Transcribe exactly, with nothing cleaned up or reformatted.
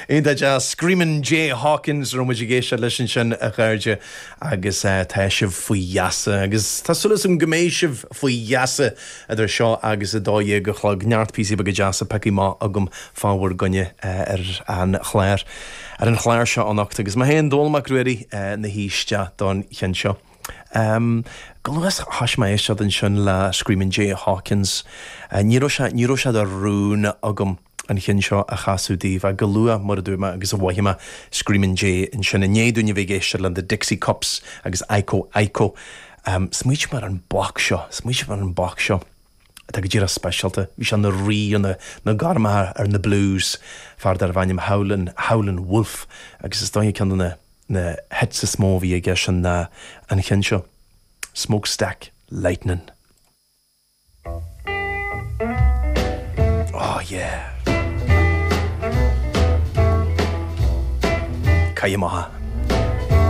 Iontach deas Screamin' Jay Hawkins raibh muid ag éisteacht leis ansin a chairde agus eh, tá sibh faoi gheasa agus tá súil agam go mbeidh sibh faoi gheasa idir seo agus a dó dhéag a chlog neart píosaí beaga deasa pioctha amach agam fá bhur gcoinne eh, ar an chlár ar an chlár seo anocht agus mé féin Dónall Mac Ruairí eh, ina thaoiseach don cheann seo. Um, go luas tháis mé éisteacht ansin le Screamin' Jay Hawkins. Uh, ní raibh sé ní raibh sé de rún agam an ceann seo a chasadh daoibh a go luath mar a dúirt mé agus a mhothaigh mé Screamin' Jay ansin i ndiaidh dúinn a bheith ag éisteacht le the Dixie Cups agus Iko Iko. Um, Smaoinigh mé ar an boc seo, smaoinigh mé ar an boc seo. Tá go díreach speisialta, bhí sé ina rí na na gormacha ar na blues fear darbh ainm Howlin Howlin Wolf agus is dóigh ceann na na hits is mó a bhí aige sin na an ceann seo. Smokestack Lightning. Oh yeah. Caimh maith.